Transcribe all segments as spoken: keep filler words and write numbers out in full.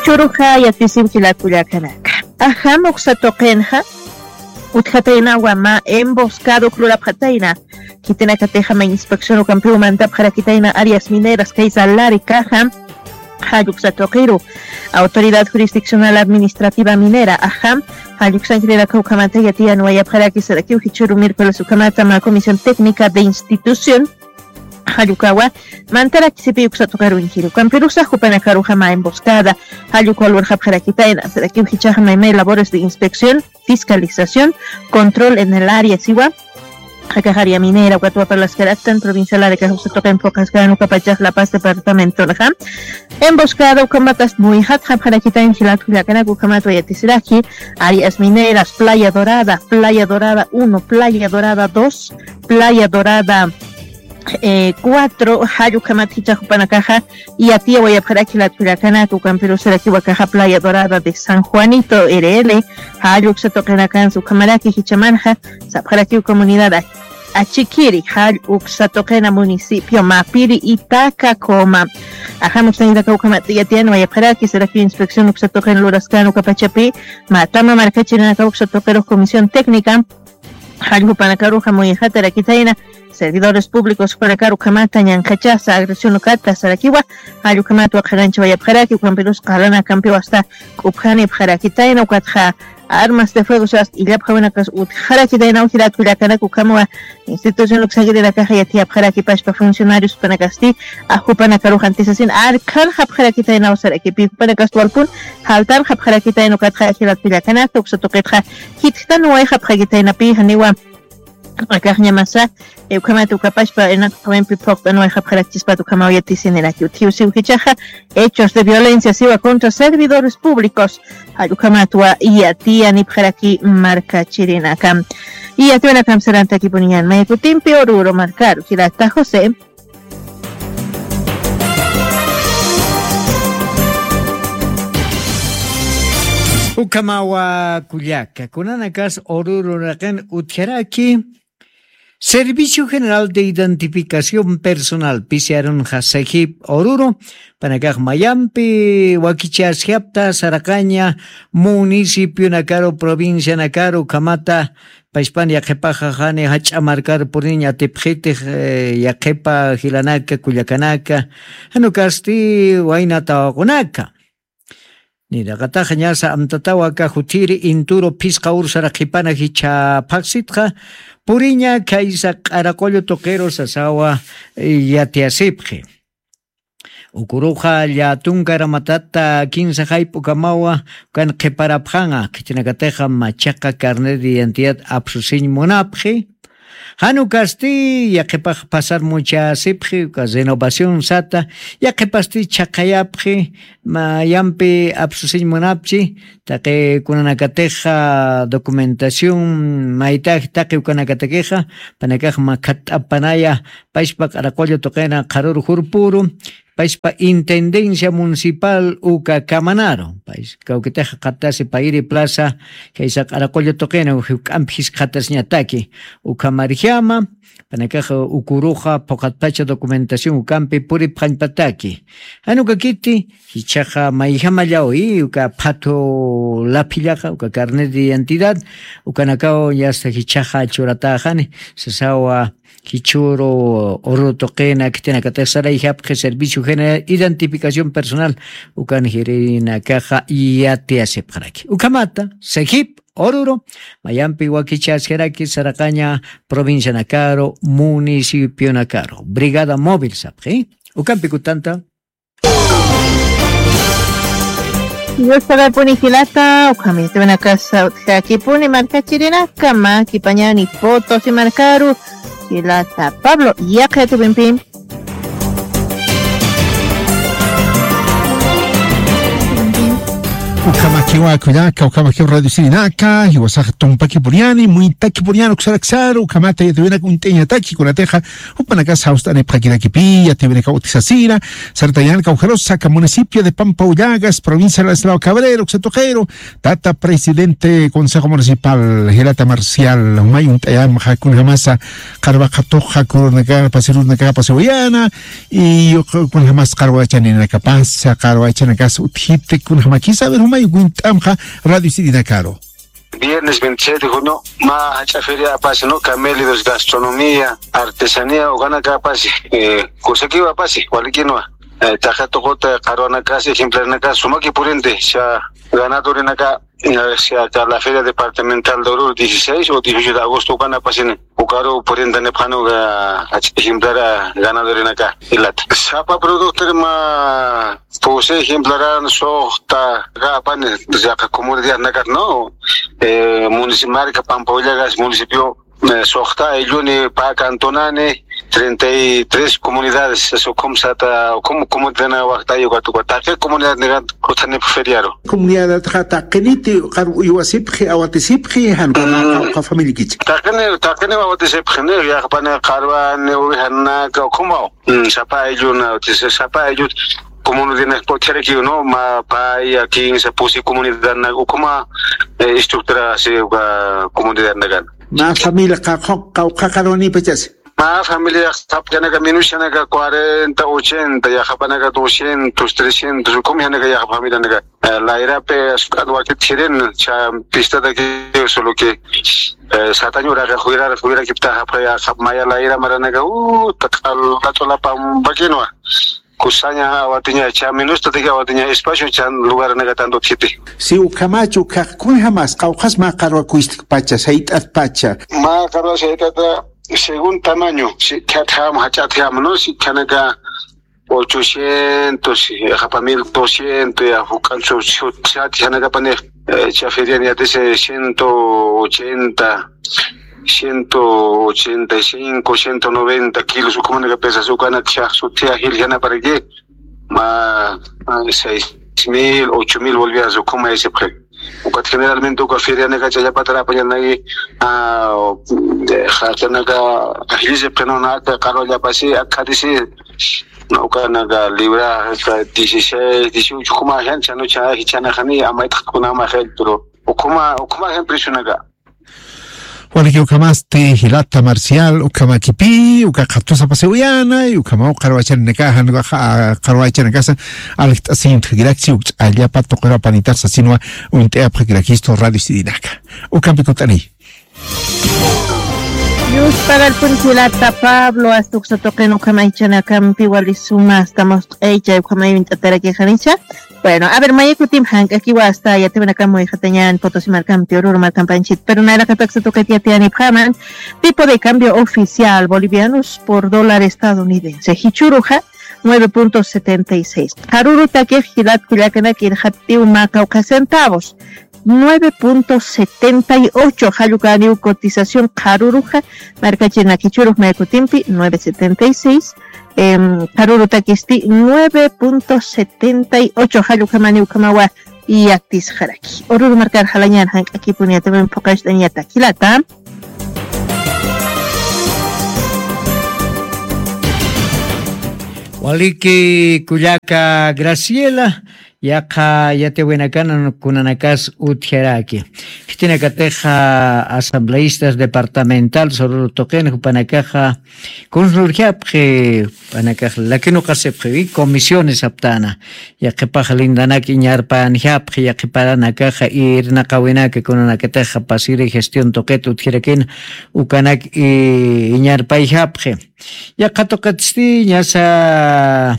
Churuxa yatisiw jilat kullakanaka. Ajam uksa tuqinxa utjataynawa mä emboscado uka lurapxatayna. Khitinakatixa mä inspección ukampiw mantapxarakitayna áreas mineras kaysa Lari Caja, jall uksa tuqiru Autoridad Jurisdiccional Administrativa Minera, ajam, jall uksankirïnaka ukhamata yatiyanwayapxaraki sarakiw jichhüru miércoles ukhamata mä comisión técnica de institución jall ukawa mantarakisipi uksa tuqirunkiri. Ukampirusa jupanakaruxa mä emboscada jall ukawa lurxapxarakitayna sarakiw jichhaxa maymay labores de inspección, fiscalización, control en el área siwa. Akax área minera ukat waparlaskaraktan provincia Lari Caja uksa tuqin phuqhaskän ukapachax La Paz departamentonxa. Emboscada ukhamatas muyxatxapxarakitayna jilat kullakanaka ukhamat wayatisiraki áreas mineras, Playa Dorada, Playa Dorada uno, Playa Dorada dos, Playa Dorada eh, cuatro, jall ukhamat jichhax jupanakaxa yatiyawayapxaraki jilat kullakanaka, ukampirusarakiw akaxa Playa Dorada de San Juanito, R L, jall uksa tuqinakansa ukhamaraki jichhamanxa sapxarakiw comunidad a-, Achikiri, jall uksa tuqina municipio Mapiri y Tacacoma. Ajam uksankirïnaka ukhamat yatiyanwayapxaraki sarakiw inspección uksa tuqin luraskän ukapachapi, mä tama markachirinaka uksa tuqirux comisión técnica, jall jupanakaruxa muyxatarakitayna servidores públicos jupanakaru ukhamata ñanqhachasa agresión ukata sarakiwa, jall ukhamat waqharanchawayapxaraki, ukampirus qalanak ukampiw asta k'upjanipxarakitayna, ukatxa armas de fuego sas illapxawinakas utjarakitayna jilat kullakanaka, ukhamawa institución uksankirinakaxa yatiyapxaraki pachpa funcionarios jupanakasti, a, jupanakaruxa antisasin arkhanxapxarakitaynaw sarakipi, jupanakasti walpun jaltanxapxarakitayna, ukatxa jilat kullakanaka uksa tuqitxa jitjtanwayxapxakitaynapi, janiwa akaxñamasa, eh, ukhamat ukapachpa inakxawimpi phuqt'anwayxapxarakchispat ukhamaw yatisiniraki. Utjiw siw jichhaxa hechos de violencia siwa contra servidores públicos, jall ukhamatwa yatiyanipxaraki markachirinaka. Yatiwinakam sarantakipuniñan may kutimpi Oruro markaru, jilata José. Ukhamawa kullaka, kunanakas Oruro raqin utjaraki Servicio General de Identificación Personal, P C R unxa, SEGIP Oruro, panakax mayampi wakichasjapta saraqaña municipionakaru, provincianakaru, ukhamata pachpan yaqhipaxa jani jach'a markar puriñ atipxitix, eh, yaqhipa jilanaka, kullakanaka, jan ukasti wayna tawaqunaka. Niraqataxa ñasa amtatawa aka jutiri Inturo phisqa ur saraqipana jichha phaxsitxa puriña khaysa Q'araqullu tuqiru sasawa, eh, yatiyasipxi. Ukuruxa llätunka ramatata kinsa jayp'ukamawa ukan qhiparapxanxa, khitinakatixa machaqa carnet de identidad apsusiñ munapxi. Jan ukasti yaqhipax pasar muchasipxi, uka renovación sata, yaqhipasti chhaqhayapxi, mayampi apsusiñ munapchi, taqi kunanakatixa documentación maytax taqi ukanakatakixa, panakax makhat'apanaya, pachpa Q'araqullu tuqina qharuru jurpuru, pachpa Intendencia Municipal uka kamanaru, pach kawkitixa qatasi Payri Plaza, khaysa Q'araqullu tuqina, juk'ampi jiskxatasiñataki, ukhamarjama, panakax ukuruxa phuqhatpacha documentación ukampi puripxañpataki. Jan ukakiti, jichhaxa mayjamallaw, y uka phathu laphillaxa, uka carnet de identidad, ukanakaw yasta jichhaxa churatäxani, sasawa, jichhüru Oruro tuqina, khitinakatix sarayjapxi Servicio General Identificación Personal, ukan jirinakaxa yatiyasipxaraki. Ukhamata, SEGIP Oruro, mayampi wakichasjaraki saraqaña provincianakaru, municipionakaru, brigada móvil sapxi. Ukampi kutanta. Dios pagapuni jilata, ukham yatiwinakasa utjakipuni markachirinaka, mä kipañani Potosí markaru, jilata Pablo, yaqha yatiwimpi. Ukhamakiwa kullaka, ukhamakiwa radio sirinaka, jiwasax tumpaki puriani, muitaki puriani, uksaraksaru, ukhamata yatiwinak uñt'añataki, kunatixa, jupanakas jawst'anipxakirakipï, yatiwinaka utisasina, sartañan kawjarusa, aka municipio de Pampa Ullagas, provincia de Ladislao Cabrero, uksatuqiru, tata presidente Consejo Municipal, Jilata Marcial, jumay uñt'ayamxa, kunjamasa, qarwa qhatuxa, kurunaka, pasirunaka, pasiwayana, y kunjamas qarwachaninakapasa, qarwachanakas utjiti, kunjamakisa, a ver, jumay uñt'amxa, radio sirinakaru. Viernes veintisiete de junio, mä jach'a feria apasi, ¿no? Camélidos, gastronomía, artesanía, ukanaka apasi, eh, kusakiwa apasi, walikinwa. Eh, taqi tuquta qarwanakas, ejemplarenakas, sumaki purinte, cha ganadorinaka, eh, cha la feria departamental de Oruro, dieciséis o dieciocho de agosto, ukan apasini. Ukaru purintanipxani uka, ejemplar ganadorinaka, jilata. Sapa productor mä, pues, ejemplaran, suxta, apani, llaqa comunidadnakat, ¿no? Eh, munici-, marka Pampa Ullagas, municipio, eh, suxta aylluni, pä cantonani, treinta y tres comunidades, eso, ukham sata, ukham comunidadna waxtay ukat, ukat, taqi comunidadnikat, utjanipx feriaru. Comunidadxa taqiniti, qar uywasipxi, awatisipxi, jan qawqha familikichi. Taqini, taqini awatisipxini, yaqhapani qarwani, ovejanaka, ukhamaw. Mm, sapa aylluna, utjisa, sapa ayllut, comunidadnak utjarakiw, ¿no? Mä paya, kinsa, pusi comunidadnak, ukhama, eh, estructura, así, uka comunidadnakan. Mä familia qawqha, qawqha qarwanipachasi. Mä familia, sapxanaka, minushanaka, cuarenta, ochenta, yaqhapanaka, doscientos, trescientos, ukhamayanaka, yaqha familianaka. Eh, layrapi, asuk'at wakit jirin, cha pistatakiw, solo que, eh, satañuraqa, juyrar, juyrakipta, japja, yaqhap maya layra maranaka, uh, taq'al, taq'ala pampakinwa. Kusaña awatiña, cha minustataki awatiña, espacio, chan lugarnaka tanto utjiti. Si ukhamachu, kaq kunjamas, qawqhas mä qarwa kuystkpacha, sayt'atpacha. Mä qarwa sayt'ata, según tamaño, si khatjam, jach'atjam, ¿no? Si khanaka ochocientos, ya, japa mil doscientos, ya, juk'an su, su, sat, khanakapani, eh, cha ferian yatisi ciento ochenta, ciento ochenta y cinco, ciento noventa kilos, ukhamanaka pesas, ukanak shax suthiya jiljanaparakiy, mä, mä seis mil, ocho mil bolivianos, ukhama yasipxi. Ukat generalmente uka ferianaka ch'allapatar apañanaki, ah, jaqinaka ajllisipxinunaka, qarwallapasi, akhatisi, ukanaka libra, hasta dieciséis, dieciocho, ukhama jan, chanu cha, jichhanaxani, amayt'aqkunama jan, pero ukhama, ukhama jan preciosnaka. Waliki ukhamasti jilata Marcial, ukhamakipï, uka qhatusa pasiwayana, y ukhamaw qarwachaninaka, jan, ah, qarwachanakasa, aljt'asiñ utjakirakchi, uk ch'allapa tuqirapanitar sasinwa, uñt'ayapxakirakistu radio sirinaka. Ukhampi kutt'ani. Yusparalpun jilata Pablo, hasta uksa tuqin ukhama jichhanakampi wali suma, hasta must'aycha, ukhamay uñt'atarakixanicha. Bueno, a ver, maya kutim jank'akiwa hasta yatiwinakam muyxatañan Potosí markampi, Oruro markampanchit. Pero nayraqataksa tuqit yatiyanipxaman, tipo de cambio oficial, bolivianos por dólar estadounidense. Jichhüruxa, nueve punto setenta y seis. Qharürutakix jilat kullakanak irxatiw mä qawqha centavos. Nueve punto setenta y ocho, jall ukaniw cotización qharüruxa, markachirinaka jichhürux maya kutimpi, nueve setenta y seis, em, qharürutakisti nueve punto setenta y ocho, jall ukhamaniw ukhamawa yatisxaraki. Oruro markar jalañan jank'akipuni yatiwin phuqacht'añatak jilata. Waliki kullaka Graciela, yaqha yatiwinakanan kunanakas utjaraki. Khitinakatixa asambleístas departamentales Oruro tuqin jupanakaxa kunsurjapxi, jupanakax lakinuqasipxi, comisiones aptana. Yaqhipax lindanak iñarpanjapxi, yaqhiparanakaxa irnaqawinaka kunanakatixa pasiri gestión tuqit utjarakina, ukanak i-, iñarpayjapxi. Yaqha tuqitsti ñasa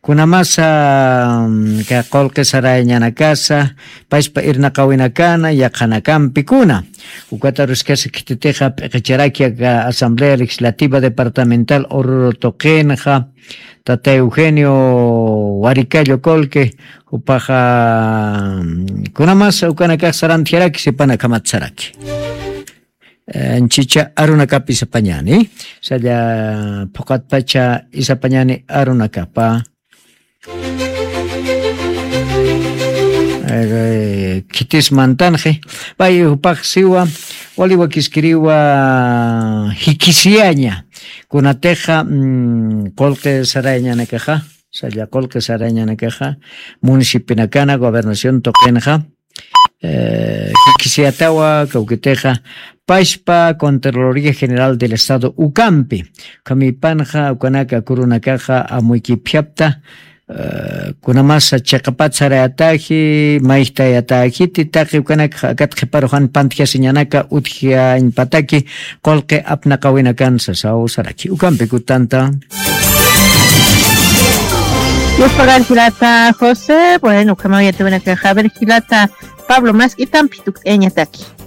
kunamasa, mm, ka qullqi sarayañanakasa, payspa irnaqawinakana, yaqhanakampi kuna. Ukataruskasa khititixa p'iqicharaki aka Asamblea Legislativa Departamental Oruro tuqinxa, tata Eugenio Waricallo Qullqi, jupaxa, mm, kunamasa ukanakax sarantjaraki, sipanakhamat saraki. Eh, anchicha arunakapa isapañani, salla phuqatpacha isapañani arunakapa. Khitis mantanxi. Pay jupax siwa waliwa kiskiriwa jikisiyaña kunatixa qulqi sarayañanakaxa, salla qulqi sarayañanakaxa, municipinakana gobernación tuqinxa jikisiyatawa kawkitixa pashpa contraloría general del estado ukampi. Ukhamipanxa ukanaka kurunakaxa amuykipjapta kunamasa chiqapat sarayataji mayjtayataji titaqi ukanaka akat qhiparuxan pantjasiñanaka utjiañpataki qulqi apnaqawinakan sasaw saraki ukampi kutanta. Yuspagar jilata josé bueno ukhamaw yatiwinakaxa aver jilata pablo mask'itampi tukt'ayañataki.